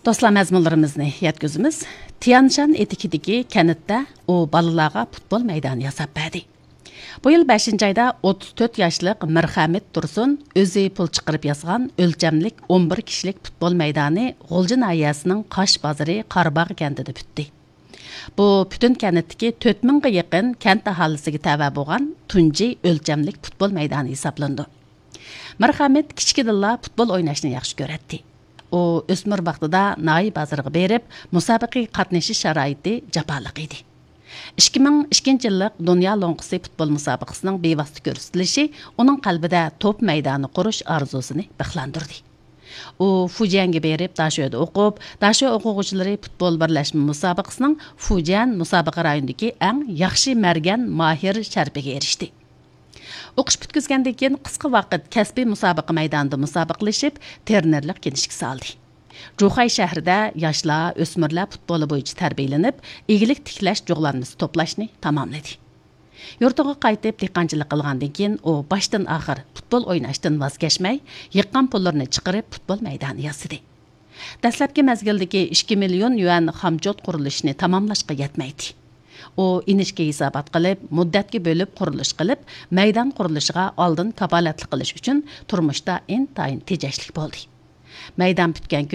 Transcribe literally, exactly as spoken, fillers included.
دوستلار، مەزمۇنلىرىمىزنى يەتكۈزىمىز. تيەنشان ئېتىكىدىكى كەنتتە ئۇ بالىلارغا پۇتبول مەيدانى ياساپ بەردى. بۇ يىل بەشىنچى ئايدا ئوتتۇز تۆت ياشلىق مىرخەمىت تۇرسۇن ئۆزى پۇل چىقىرىپ ياسىغان ئۆلچەملىك ئون بىر كىشىلىك پۇتبول مەيدانى غۇلجا ناھىيەسىنىڭ قاش بازىرى قاراباغ كەنتىدە پۈتتى. بۇ پۈتۈن كەنتتىكى تۆت مىڭغا يېقىن كەنت ئاھالىسىگە تەۋە بولغان تۇنجى ئۆلچەملىك پۇتبول مەيدانى ھېسابلىنىدۇ. مىرخەمىت كىچىكىدىنلا پۇتبول ئويناشنى ياخشى كۆرەتتى. ئۇ ئۆسمۈر ۋاقتىدا ناھىيە بازىرىغا بېرىپ، مۇسابىقىگە قاتنىشىش شارائىتى جاپالىق ئىدى. ئىككى مىڭ ئىككىنچى يىللىق دۇنيا لوڭقىسى پۇتبول مۇسابىقىسىنىڭ بىۋاسىتە كۆرسىتىلىشى ئۇنىڭ قەلبىدە توپ مەيدانى قۇرۇش ئارزۇسىنى بىخلاندۇردى. ئۇ فۇجيەنگە بېرىپ، داشۆدە ئوقۇپ، داشۆ ئوقۇغۇچىلىرى پۇتبول بىرلەشمە مۇسابىقىسىنىڭ فۇجيەن مۇسابىقە رايونىدىكى ئەڭ ياخشى مەرگەن ماھىر شەرىپىگە ئېرىشتى. ئوقۇش پۈتكۈزگەندىن كېيىن قىسقا ۋاقىت كەسپىي مۇسابىقە مەيدانىدا مۇسابىقىلىشىپ، ترېنېرلىق كىنىشكىسى ئالدى. جۇخەي شەھىرىدە ياشلار، ئۆسمۈرلەر پۇتبولى بويىچە تەربىيەلىنىپ، ئىگىلىك تىكلەش جۇغلانمىسى توپلاشنى تاماملىدى. يۇرتىغا قايتىپ، دېھقانچىلىق قىلغاندىن كېيىن، ئۇ باشتىن ئاخىر پۇتبول ئويناشتىن ۋاز كەچمەي، يىغقان پۇللىرىنى چىقىرىپ، پۇتبول مەيدانى ياسىدى. دەسلەپكى مەزگىلدىكى ئىككى مىليون يۈەن خامچوت قۇرۇلۇشىنى تاماملاشقا يەتمەيتتى. ئۇ ئىنچىكە ھېسابات قىلىپ، مۇددەتكە بۆلۈپ قۇرۇلۇش قىلىپ، مەيدان قۇرۇلۇشىغا ئالدىن كاپالەتلىك قىلىش ئۈچۈن تۇرمۇشتا ئىنتايىن تېجەشلىك بولدى. مەيدان پۈتكەن كۈنى